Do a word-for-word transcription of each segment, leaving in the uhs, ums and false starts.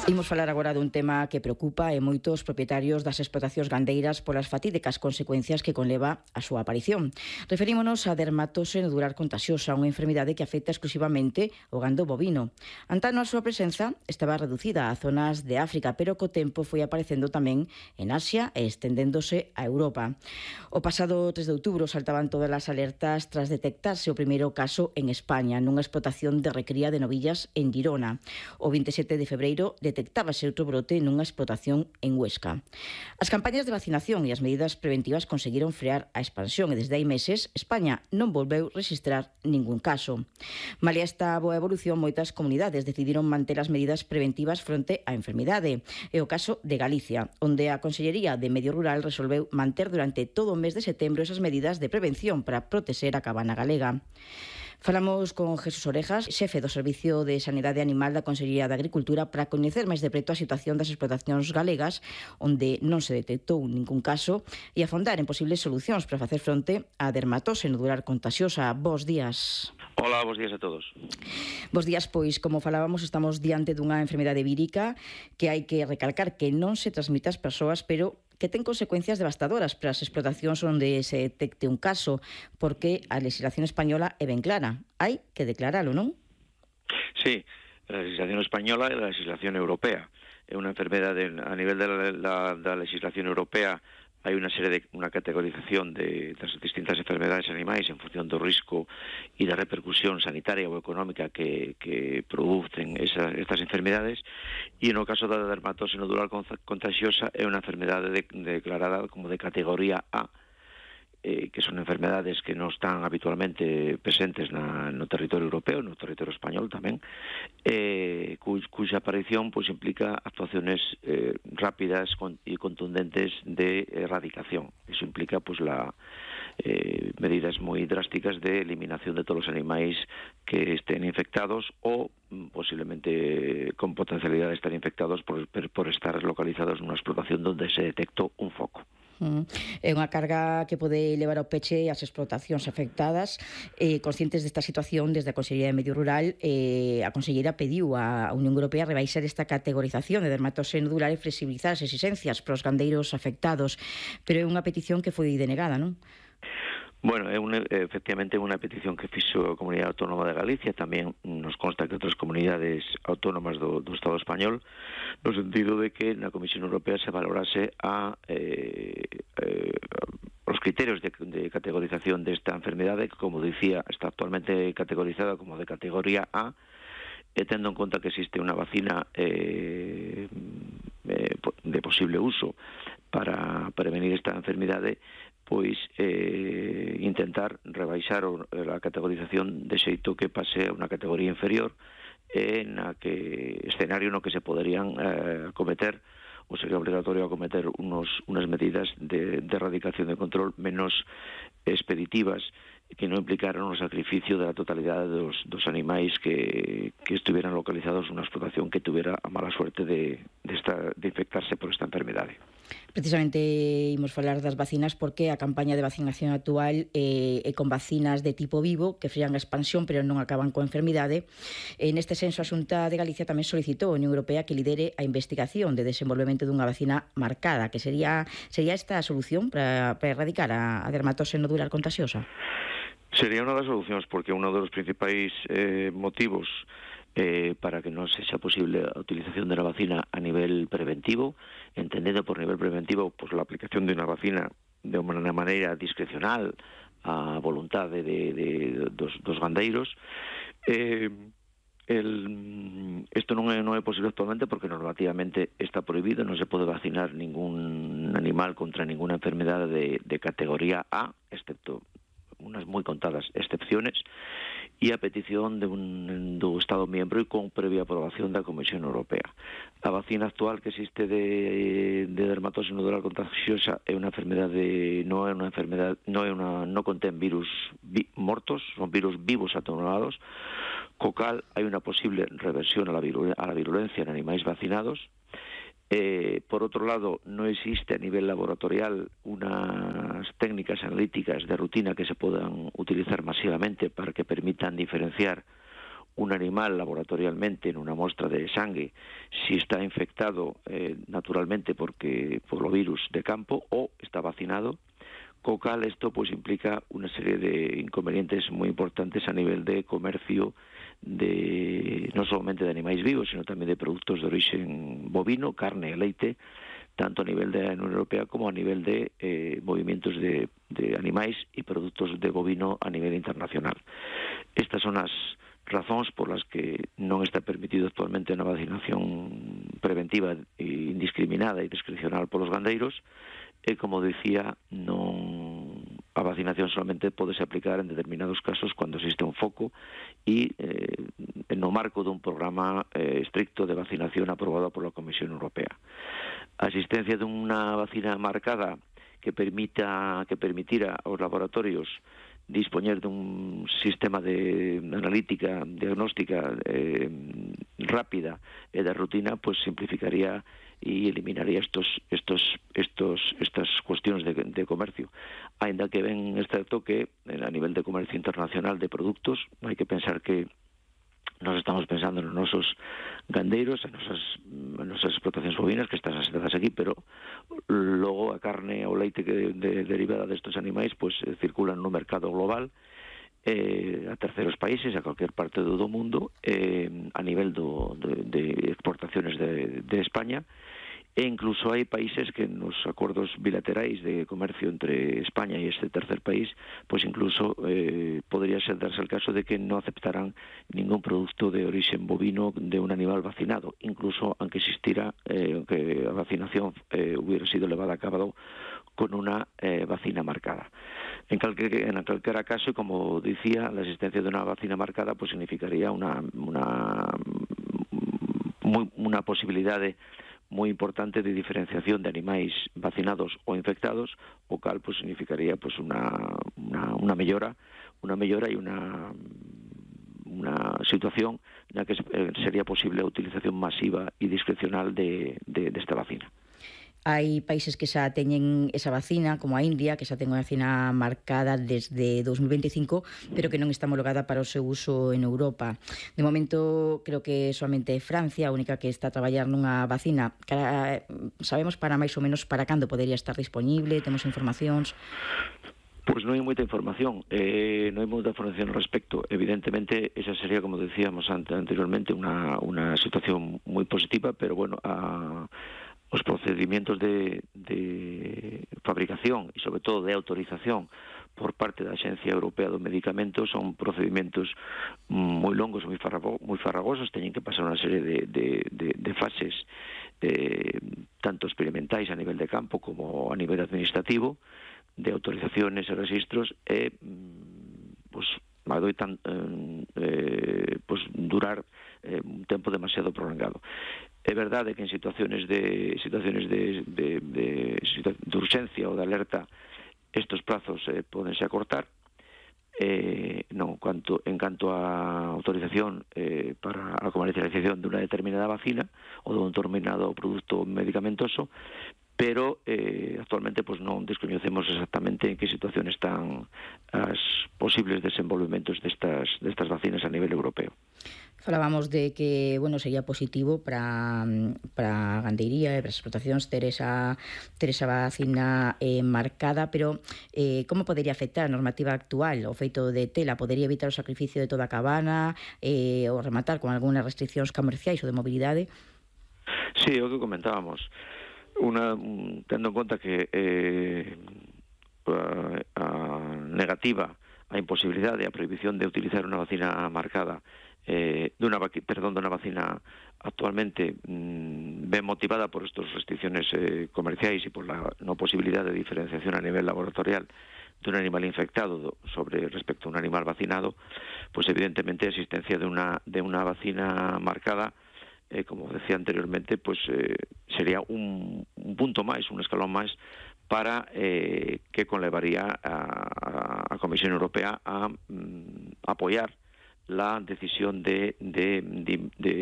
Imos falar agora dun tema que preocupa e moitos propietarios das explotacións gandeiras polas fatídicas consecuencias que conleva a súa aparición. Referímonos a dermatose nodular contagiosa, unha enfermidade que afecta exclusivamente o gando bovino. Antano a súa presenza estaba reducida a zonas de África, pero co tempo foi aparecendo tamén en Asia e estendéndose a Europa. O pasado tres de outubro saltaban todas as alertas tras detectarse o primeiro caso en España, nunha explotación de recría de novillas en Girona. O veintisiete de febreiro detectábase outro brote nunha explotación en Huesca. As campañas de vacinación e as medidas preventivas conseguiron frear a expansión e desde hai meses España non volveu registrar ningún caso. Malia esta boa evolución, moitas comunidades decidiron manter as medidas preventivas fronte á enfermidade. É o caso de Galicia, onde a Consellería de Medio Rural resolveu manter durante todo o mes de setembro esas medidas de prevención para protexer a cabana galega. Falamos con Jesús Orejas, xefe do Servicio de Sanidade Animal da Consellería de Agricultura, para coñecer máis de preto a situación das explotacións galegas, onde non se detectou ningún caso, e afondar en posibles solucións para facer fronte á dermatose nodular contagiosa. Bos días. Hola, bos días a todos. Bos días, pois, como falábamos, estamos diante dunha enfermidade vírica que hai que recalcar que non se transmite ás persoas, pero que ten consecuencias devastadoras para as explotacións onde se detecte un caso, porque a legislación española é ben clara. Hai que declaralo, non? Sí, a legislación española e a legislación europea. É unha enfermedade a nivel da, da, da legislación europea. Hai unha serie de unha categorización de das distintas enfermedades animais en función do risco e da repercusión sanitaria ou económica que, que producen esa, estas enfermedades, e no caso da dermatose nodular contagiosa é unha enfermedade de, declarada como de categoría A, eh, que son enfermedades que non están habitualmente presentes na, no territorio europeo, no territorio español tamén, eh, cu, cuxa aparición pois, implica actuaciones eh, rápidas e contundentes de erradicación. Iso implica pois, la, eh, medidas moi drásticas de eliminación de todos os animais que estén infectados ou posiblemente con potencialidad de estar infectados por, por estar localizados nunha explotación onde se detectou un foco. É unha carga que pode levar ao peche as explotacións afectadas. Eh, conscientes desta situación, desde a Consellería de Medio Rural, eh, a Conselleira pediu á Unión Europea rebaixar esta categorización de dermatose nodular e flexibilizar as exigencias para os gandeiros afectados, pero é unha petición que foi denegada, non? Bueno, é un, efectivamente unha petición que fixo a Comunidade Autónoma de Galicia, tamén nos consta que outras comunidades autónomas do, do Estado español, no sentido de que na Comisión Europea se valorase a eh, eh, os criterios de, de categorización desta enfermedade, que, como dicía, está actualmente categorizada como de categoría A, e tendo en conta que existe unha vacina eh, eh, de posible uso para prevenir esta enfermidade, pois eh, intentar rebaixar o, a categorización de xeito que pase a unha categoría inferior, eh, na que escenario no que se poderían eh, acometer ou sería obligatorio acometer unos, unas medidas de, de erradicación de control menos expeditivas, que non implicaran o sacrificio da totalidade dos, dos animais que, que estuvieran localizados nunha explotación que tuviera a mala suerte de, de, esta, de infectarse por esta enfermedade. Precisamente imos falar das vacinas porque a campaña de vacinación actual eh, é con vacinas de tipo vivo que frean a expansión pero non acaban coa enfermidade. E neste senso a Xunta de Galicia tamén solicitou a Unión Europea que lidere a investigación de desenvolvemento dunha vacina marcada, que sería sería esta a solución para, para erradicar a, a dermatose nodular contagiosa. Sería unha das solucións, porque un dos principais eh, motivos eh, para que non sexa posible a utilización de la vacina a nivel preventivo, entendendo por nivel preventivo pues, la aplicación de unha vacina de unha maneira discrecional a voluntade de, de, dos, dos gandeiros. Eh, el, esto non é, non é posible actualmente porque normativamente está prohibido, non se pode vacinar ningún animal contra ninguna enfermedade de, de categoría A, excepto unas moi contadas excepciones, e a petición de un, do Estado miembro e con previa aprobación da Comisión Europea. A vacina actual que existe de, de dermatose nodular contagiosa é unha enfermedade, non é unha enfermedade, non é unha, non contén virus vi, mortos, son virus vivos atenuados, co cal hai unha posible reversión a la, virulencia, a la virulencia en animais vacinados. Eh, por outro lado, non existe a nivel laboratorial unas técnicas analíticas de rutina que se podan utilizar masivamente para que permitan diferenciar un animal laboratorialmente en una muestra de sangre si está infectado eh, naturalmente porque por los virus de campo o está vacinado, co cal esto pues implica una serie de inconvenientes muy importantes a nivel de comercio de no solamente de animales vivos, sino también de productos de origen bovino, carne, leite, tanto a nivel de la Unión Europea como a nivel de eh, movimientos de, de animais e produtos de bovino a nivel internacional. Estas son as razóns por las que non está permitido actualmente a vacinación preventiva e indiscriminada e discrecional polos gandeiros, e, como dicía, non a vacinación solamente podese aplicar en determinados casos cando existe un foco e eh, no marco dun programa eh, estricto de vacinación aprobado pola Comisión Europea. A existencia dunha vacina marcada que permita que permitira aos laboratorios dispoñer dun sistema de analítica diagnóstica eh, rápida e de rutina, pues simplificaría e eliminaría estos estos estos estas cuestiones de, de comercio. Ainda que ven este toque a nivel de comercio internacional de productos, hai que pensar que nos estamos pensando nos nosos gandeiros, en nosas, en nosas explotacións bovinas que están asentadas aquí, pero logo a carne ou leite que de, derivada destes animais pues eh, circulan no mercado global eh, a terceros países, a cualquier parte do mundo, eh, a nivel do, de, de exportaciones de, de España, e incluso hai países que nos acordos bilaterais de comercio entre España e este tercer país, pues incluso eh, podría ser darse el caso de que no aceptarán ningún producto de origen bovino de un animal vacinado, incluso aunque existiera, eh, aunque la vacinación eh, hubiera sido llevada a cabo con una eh, vacina marcada. En cualquier, en cualquier caso, como decía, la existencia de una vacina marcada pues significaría una, una, muy, una posibilidad de moi importante de diferenciación de animais vacinados ou infectados, o cal pues significaría pues una una una mellora, una mellora e una una situación na que sería posible a utilización masiva e discrecional de de desta vacina. Hai países que xa teñen esa vacina, como a India, que xa ten unha vacina marcada desde dos mil veinticinco, pero que non está homologada para o seu uso en Europa. De momento, creo que solamente Francia, a única que está a traballar nunha vacina. Sabemos para máis ou menos para cando podería estar disponible? Temos informacións? Pois non hai moita información, eh, non hai moita información ao respecto. Evidentemente, esa sería, como decíamos anteriormente, unha, unha situación moi positiva, pero bueno, a os procedimientos de, de fabricación e, sobre todo, de autorización por parte da Axencia Europea do Medicamento son procedimentos moi longos, moi, farrago, moi farragosos, teñen que pasar unha serie de, de, de, de fases eh, tanto experimentais a nivel de campo como a nivel administrativo, de autorizaciones e registros, e pues, adoitan eh, pues, durar eh, un tempo demasiado prolongado. É verdade que en situaciones de situaciones de, de, de, de urxencia ou de alerta estos plazos eh, podense acortar, eh, non, cuanto, en canto a autorización eh, para a comercialización de unha determinada vacina ou de un determinado produto medicamentoso, pero eh, actualmente pues, non descoñecemos exactamente en que situación están as posibles desenvolvementos destas, destas vacinas a nivel europeo. Falábamos de que, bueno, sería positivo para para a gandeiría e para as explotacións ter esa, ter esa vacina eh, marcada, pero eh, como podería afectar a normativa actual? O feito de tela podería evitar o sacrificio de toda a cabana eh, ou rematar con algunhas restriccións comerciais ou de mobilidade? Sí, o que comentábamos. Una, tendo en conta que eh, a, a negativa, a imposibilidade, a prohibición de utilizar unha vacina marcada eh, dunha, perdón, dunha vacina actualmente mmm, ben motivada por estas restricciones eh, comerciais e por la no posibilidad de diferenciación a nivel laboratorial dun animal infectado sobre respecto a un animal vacinado, pues evidentemente a existencia de unha, de unha vacina marcada, eh, como decía anteriormente, pues eh, sería un, un punto máis, un escalón máis para eh, que conlevaría a, a Comisión Europea a mm, apoiar la decisión de, de, de, de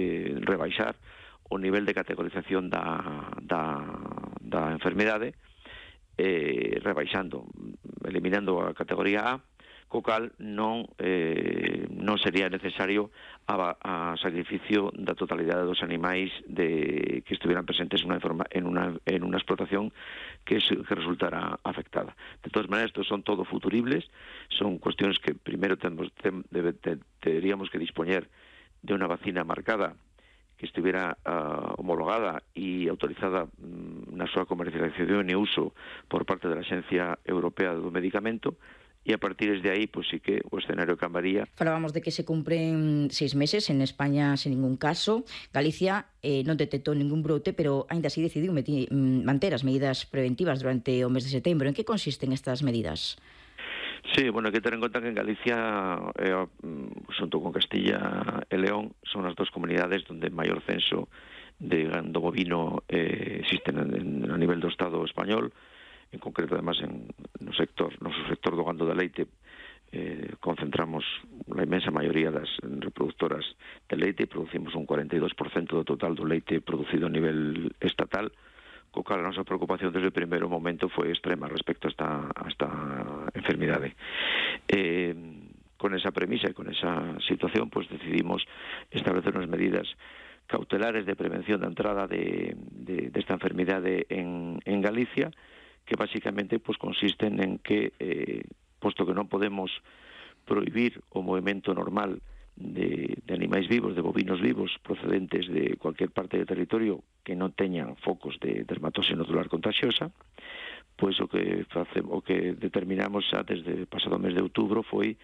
rebaixar o nivel de categorización da, da, da enfermedade, eh, rebaixando, eliminando a categoría A, co cal non, eh, non sería necesario a, a sacrificio da totalidade dos animais de, que estuvieran presentes en unha, en una, en una explotación que, se, que resultara afectada. De todas maneras, estos son todo futuribles, son cuestiones que primero tenemos, ten, debe, te, tendríamos que disponer de una vacina marcada que estuviera uh, homologada e autorizada um, na súa comercialización e uso por parte da Axencia Europea do Medicamento, e a partir de aí, pues sí que o escenario cambiaría. Falábamos de que se cumpren seis meses en España sen ningún caso. Galicia eh, non detectou ningún brote, pero aínda así decidiu meti, manter as medidas preventivas durante o mes de setembro. En que consisten estas medidas? Sí, bueno, hay que tener en cuenta que en Galicia, eh, junto con Castilla y León, son las dos comunidades donde mayor censo de gando bovino eh, existe en, en, a nivel do Estado español, en concreto, además, en no sector, no sector do gando de leite, eh, concentramos la inmensa mayoría das reproductoras de leite e producimos un cuarenta e dos por cento do total do leite producido a nivel estatal, co cal a nosa preocupación desde o primeiro momento foi extrema respecto a esta, a esta enfermidade. Eh, con esa premisa e con esa situación, pues decidimos establecer unas medidas cautelares de prevención da entrada de, de, de esta enfermidade en, en Galicia, que básicamente pues consisten en que, eh, posto que non podemos prohibir o movimento normal De, de animais vivos, de bovinos vivos procedentes de cualquier parte do territorio que non teñan focos de dermatose nodular contagiosa, pois o que facemos, o que determinamos xa desde o pasado mes de outubro foi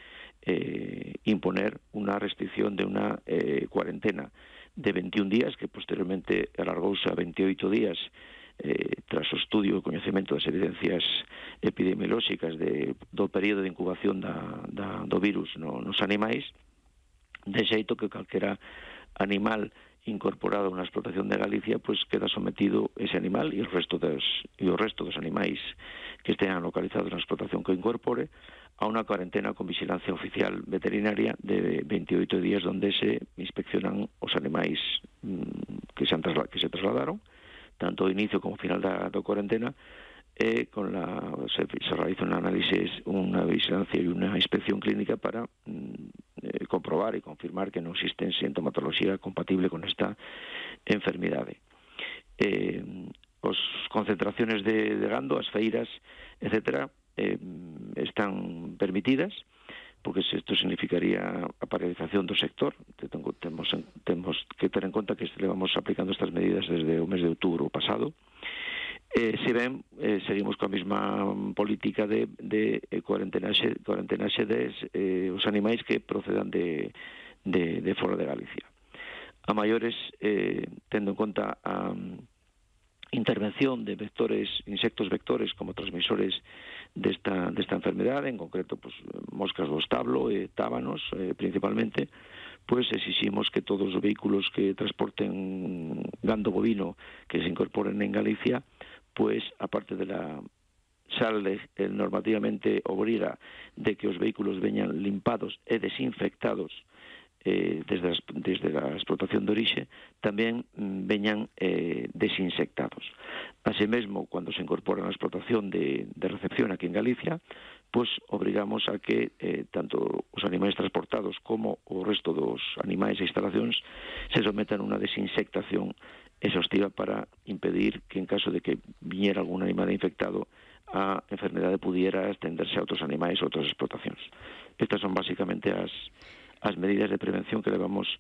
eh, imponer unha restricción de unha eh, cuarentena de veintiún días, que posteriormente alargouse a veintioito días eh, tras o estudio e coñecemento das evidencias epidemiolóxicas de, do período de incubación da, da, do virus no, nos animais, de xeito que calquera animal incorporado a unha explotación de Galicia pues queda sometido ese animal e o resto dos, e o resto dos animais que estean localizados na explotación que incorpore a unha cuarentena con vigilancia oficial veterinaria de veintioito días, donde se inspeccionan os animais mmm, que, se han trasla- que se trasladaron, tanto ao inicio como ao final da, da cuarentena, e con la, se, se realiza un análisis, unha vigilancia e unha inspección clínica para mm, eh, comprobar e confirmar que non existe sintomatología compatible con esta enfermidade. Eh, as concentraciones de, de gando, as feiras, etcétera, eh, están permitidas, porque isto significaría a paralización do sector. Temos, temos que ter en conta que levamos aplicando estas medidas desde o mes de outubro pasado. Eh, se ben, eh, seguimos coa mesma política de, de cuarentenaxe, cuarentenaxe des eh, os animais que procedan de, de, de fora de Galicia. A maiores, eh, tendo en conta a um, intervención de vectores, insectos vectores como transmisores desta, desta enfermedade, en concreto pues, moscas do establo e tábanos eh, principalmente, pues exiximos que todos os vehículos que transporten gando bovino que se incorporen en Galicia, pues aparte de la sale eh, normativamente obriga de que os vehículos veñan limpados e desinfectados eh, desde, as, desde a explotación de orixe, tamén mm, veñan eh, desinsectados. Así mesmo, cando se incorpora na explotación de, de recepción aquí en Galicia, pues obrigamos a que eh, tanto os animais transportados como o resto dos animais e instalacións se sometan a unha desinsectación exhaustiva para impedir que en caso de que viñera algún animal infectado a enfermedade pudiera extenderse a outros animais ou outras explotacións. Estas son basicamente as, as medidas de prevención que levamos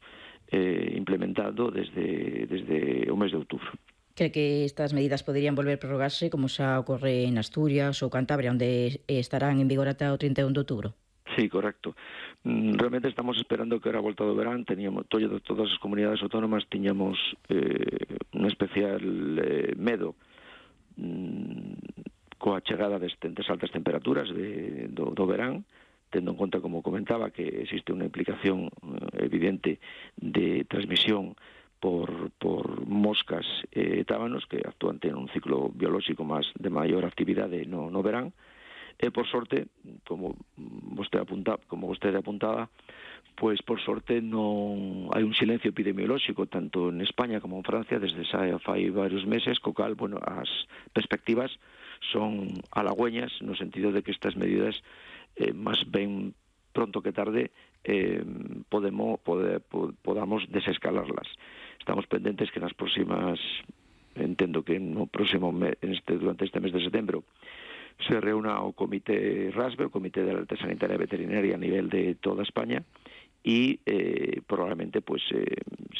eh, implementando desde, desde o mes de outubro. Cree que estas medidas poderían volver a prorrogarse como xa ocorre en Asturias ou Cantabria, onde estarán en vigor ata o trinta e un de outubro? Sí, correcto. Realmente estamos esperando que ahora volta do verán, teníamos todas, todas as comunidades autónomas tiñamos eh, un especial eh, medo mm, coa chegada destas altas temperaturas de, do, do verán, tendo en conta, como comentaba, que existe unha implicación eh, evidente de transmisión por, por moscas e eh, tábanos que actúan en un ciclo biolóxico máis de maior actividade no, no verán. E por sorte, como vostede apunta, como vostede apuntaba, pois por sorte non hai un silencio epidemiolóxico tanto en España como en Francia desde xa fai varios meses, co cal, bueno, as perspectivas son halagüeñas no sentido de que estas medidas eh, máis ben pronto que tarde eh, podemos, pode, podamos desescalarlas. Estamos pendentes que nas próximas, entendo que no próximo mes, este, durante este mes de setembro, se reúna o Comité RASBE, o Comité de Alerta Sanitaria Veterinaria a nivel de toda España, y eh, probablemente pues eh,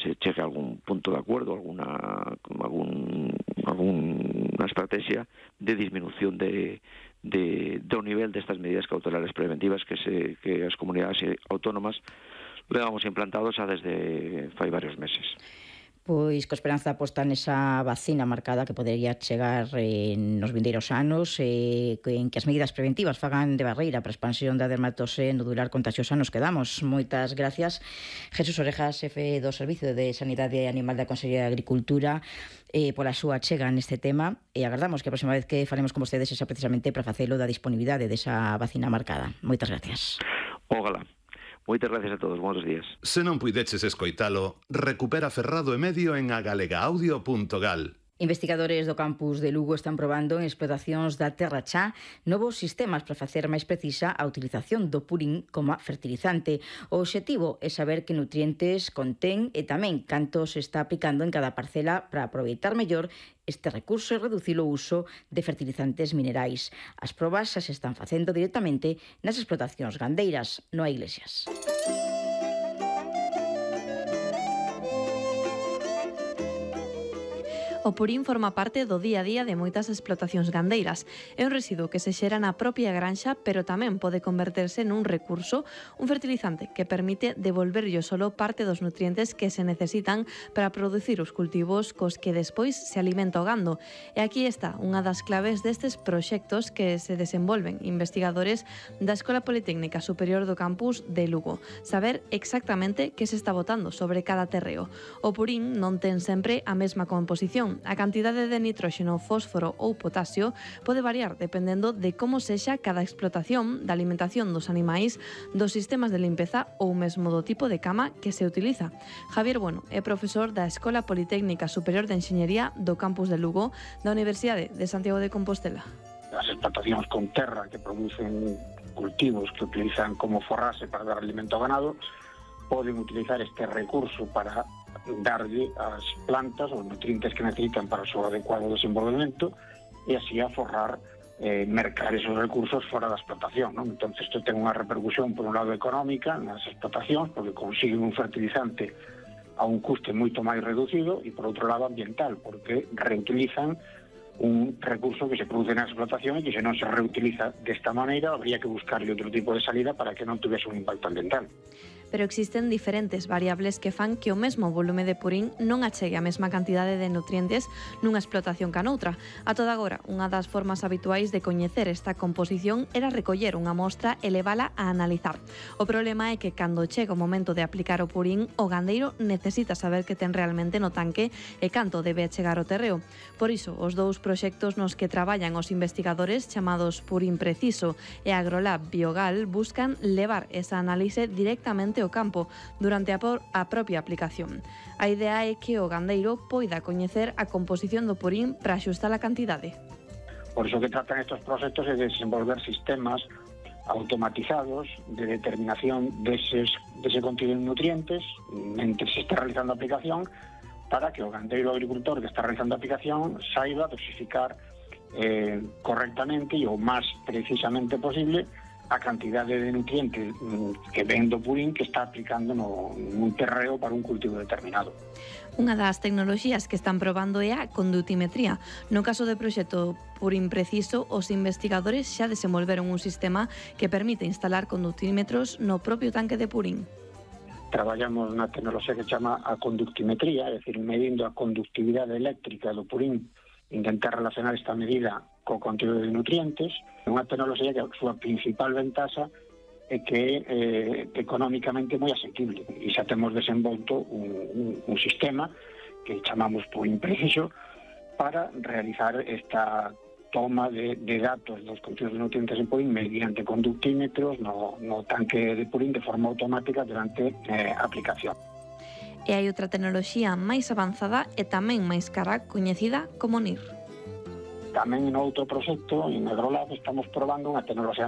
se chegue a algún punto de acuerdo, alguna algún, alguna estrategia de disminución de, de, do nivel destas medidas cautelares preventivas que, se, que as comunidades autónomas levamos implantados xa desde fai varios meses. Pois co esperanza posta nesa vacina marcada que podería chegar eh, nos vindeiros anos, eh, en que as medidas preventivas fagan de barreira para a expansión da dermatose nodular contagiosa nos quedamos. Moitas gracias, Jesús Orejas, xefe do Servicio de Sanidade Animal da Consellería de Agricultura, eh, pola súa chega neste tema, e agardamos que a próxima vez que falemos con vostedes sexa precisamente para facelo da disponibilidade desa vacina marcada. Moitas gracias. Ógala. Moitas gracias a todos, buenos días. Se non puideches escoitalo, recupera Ferrado e Medio en agalegaaudio punto gal. Investigadores do campus de Lugo están probando en explotacións da terra cha novos sistemas para facer máis precisa a utilización do purín como fertilizante. O obxectivo é saber que nutrientes contén e tamén canto se está aplicando en cada parcela para aproveitar mellor este recurso e reducir o uso de fertilizantes minerais. As probas xa se están facendo directamente nas explotacións gandeiras, no a Iglesias. O purín forma parte do día a día de moitas explotacións gandeiras. É un residuo que se xera na propia granxa, pero tamén pode converterse nun recurso, un fertilizante que permite devolverlle ao solo parte dos nutrientes que se necesitan para producir os cultivos cos que despois se alimenta o gando. E aquí está unha das claves destes proxectos que se desenvolven investigadores da Escola Politécnica Superior do Campus de Lugo. Saber exactamente que se está botando sobre cada terreo. O purín non ten sempre a mesma composición. A cantidade de nitróxeno, fósforo ou potasio pode variar dependendo de como sexa cada explotación, da alimentación dos animais, dos sistemas de limpeza ou mesmo do tipo de cama que se utiliza. Javier Bueno é profesor da Escola Politécnica Superior de Enxeñería do Campus de Lugo da Universidade de Santiago de Compostela. As explotacións con terra que producen cultivos que utilizan como forrase para dar alimento ao ganado poden utilizar este recurso para darlle as plantas os nutrientes que necesitan para o seu adecuado desenvolvemento e así aforrar, eh, mercar esos recursos fora da explotación, non? Entón, isto ten unha repercusión, por un lado, económica nas explotacións, porque consiguen un fertilizante a un custe moito máis reducido, e, por outro lado, ambiental, porque reutilizan un recurso que se produce na explotación e que se non se reutiliza desta maneira, habría que buscarle outro tipo de salida para que non tuvese un impacto ambiental. Pero existen diferentes variables que fan que o mesmo volume de purín non achegue a mesma cantidade de nutrientes nunha explotación ca noutra. A toda agora, unha das formas habituais de coñecer esta composición era recoller unha mostra e levala a analizar. O problema é que cando chega o momento de aplicar o purín, o gandeiro necesita saber que ten realmente no tanque e canto debe achegar o terreo. Por iso, os dous proxectos nos que traballan os investigadores chamados Purín Preciso e Agrolab Biogal buscan levar esa análise directamente ao campo durante a, por, a propia aplicación. A idea é que o gandeiro poida coñecer a composición do purín para axustar a cantidade. Por iso que tratan estes proxectos é de desenvolver sistemas automatizados de determinación deses, dese contido de nutrientes mentre se está realizando a aplicación, para que o gandeiro agricultor que está realizando a aplicación saiba dosificar eh, correctamente e o máis precisamente posible a cantidade de nutrientes que ven do purín que está aplicando no, nun terreo para un cultivo determinado. Unha das tecnoloxías que están probando é a condutimetría. No caso do proxecto Purín Preciso, os investigadores xa desenvolveron un sistema que permite instalar condutímetros no propio tanque de purín. Traballamos na tecnoloxía que chama a conductimetría, é dicir, medindo a conductividade eléctrica do purín, intentar relacionar esta medida co contido de nutrientes. É unha tecnoloxía que a súa principal ventaxa é que é eh, económicamente moi asequible, e xa temos desenvolto un, un, un sistema que chamamos Purín Preciso para realizar esta toma de, de datos dos contidos de nutrientes en purín mediante conductímetros no, no tanque de purín de forma automática durante eh, a aplicación. E hai outra tecnoloxía máis avanzada e tamén máis cara, coñecida como N I R. Tamén en outro proxecto, en Agrolab, estamos probando unha tecnoloxía